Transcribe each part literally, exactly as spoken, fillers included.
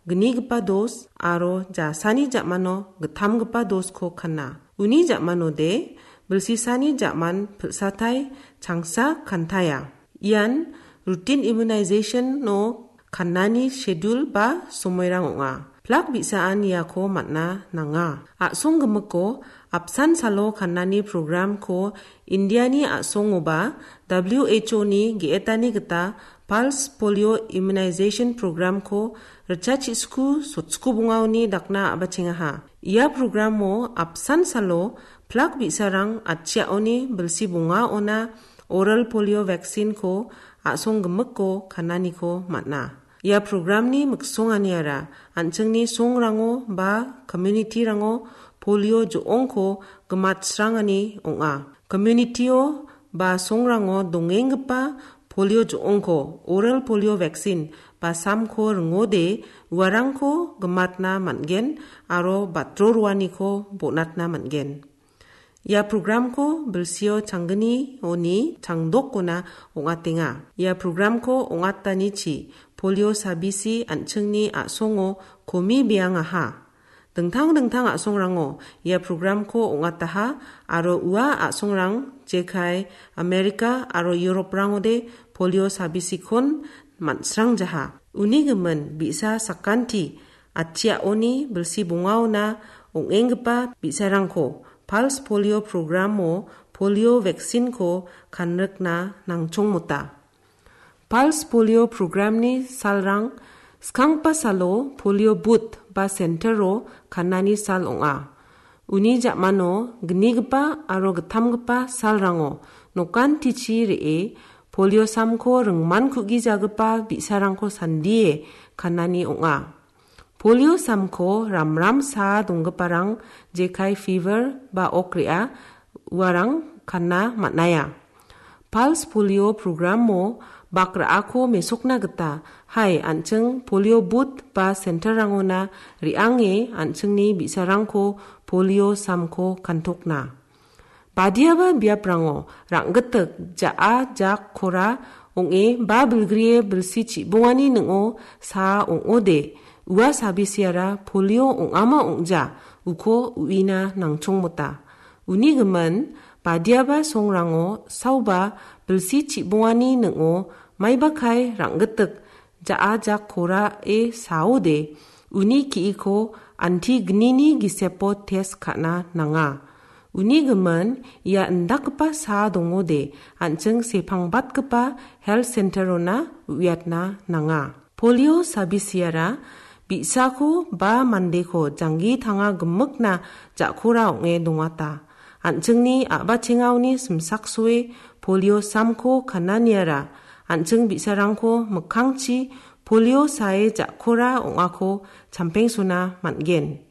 gnigipa dos aro jasani ja·mano gittamgipa dosko kana. Uni ja·manode bilsisani ja·man pilsatai changsa kantaia. Ian routine immunization-o kannani schedule ba somoirang ong·a. Plak bi·saan iako man·a nanga. A·song gimikko apsan salo kannani programko Indiani a·songoba W H O-ni ge·etani gita Pulse Polio Immunization Programko ritchachisku sotsku bongaoni dakna a·bachengaha. Ia programo apsan salo plak bi·sarang atchiaoni bilsi bongaona oral polio vaccine-ko a·song gimikko kananiko man·a. Ia programni miksonganiara an·chingni songrango ba community-rango polio jo·ongko gimatsrangani ong·a. Community-o ba songrango dongenggipa polio jo·ongko, oral polio vaccine ba samko ringode uarangko gimatna man·gen aro batro roaniko bonatna man·gen. Ia programko bilsio changgnioni changdokona ong·atenga. Ia programko ong·atanichi polio sabisi an·chingni a·songo komi beangaha. Dingtang dingtang a·songrango ia programko ong·ataha aro ua a·songrang jekai Amerika aro Europe-rangode polio sabisikon man·srangjaha. Uni gimin bi·sa sakanti atchiaoni bilsi bongaona ong·enggipa bi·sarangko Pulse Polio Programo polio vaccine-ko kanrikna nangchongmota. Pulse Polio Programni salrang skanggipa salo polio booth ba center-o kanani sal ong·a. Uni ja·mano gnigipa aro gittamgipa salrango nokantichi re·e polio samko ringman ku·gijagipa bi·sarangko sandie kanani ong·a. Polio samko ramram saa donggiparang jekai fever ba ok re·a uarang kana man·aia. Pulse Polio Programo bak ra·ako mesokna gita, hai, an·ching polio booth ba center-rangona re·ange an·chingni bi·sarangko polio samko kantokna. Badiaba biaprango rang·gitik ja·a jak kora ong·e ba bilgrie bilsi chibongani ning·o saa ong·ode, ua sabisiara polio ong·ama ong·ja uko uina nangchongmota. Uni gimin, badiaba songrango saoba bilsi chibongani ning·o maibakai rang·gitik ja·a jak korae saode, uni ki·iko antignini gisepo test ka·na nanga. Uni gimin, ia indakgipa saa dongode, an·ching sepangbatgipa health center-ona uiatna nanga. Polio sabisiara bi·sako ba mandeko janggi tanga gimikna ja·kora ong·e dongata. An·chingni a·bachengaoni simsaksoe polio samko kananiara an·ching bi·sarangko mikkangchi polio sae ja·kora ong·ako champengsona man·gen.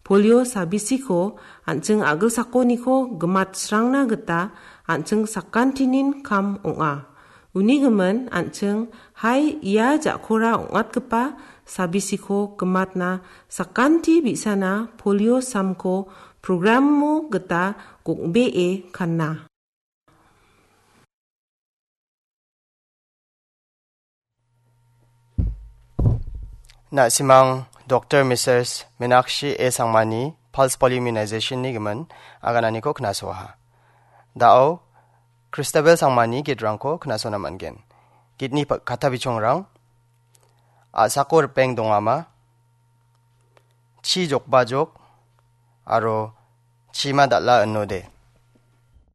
Polio sabisiko an·ching a·gilsakoniko gimatsrangna gita an·ching sakantinin kam ong·a. Uni gimin an·ching, hai, ia ja·kora ong·atgipa sabisiko gimatna sakanti bi·sana polio samko programo gita gong·bee kana. Na·simang Doktor Missus Minakshi A Sangmani Pulse Polio Immunization-ni gimin agananiko knasoaha. Da·o Christabel Sangmani gitrangko knasona man·gen. Gitni pa-, kata bichongrang, a·sako ripeng dongama, chi jokbajok, aro chima dal·a inode.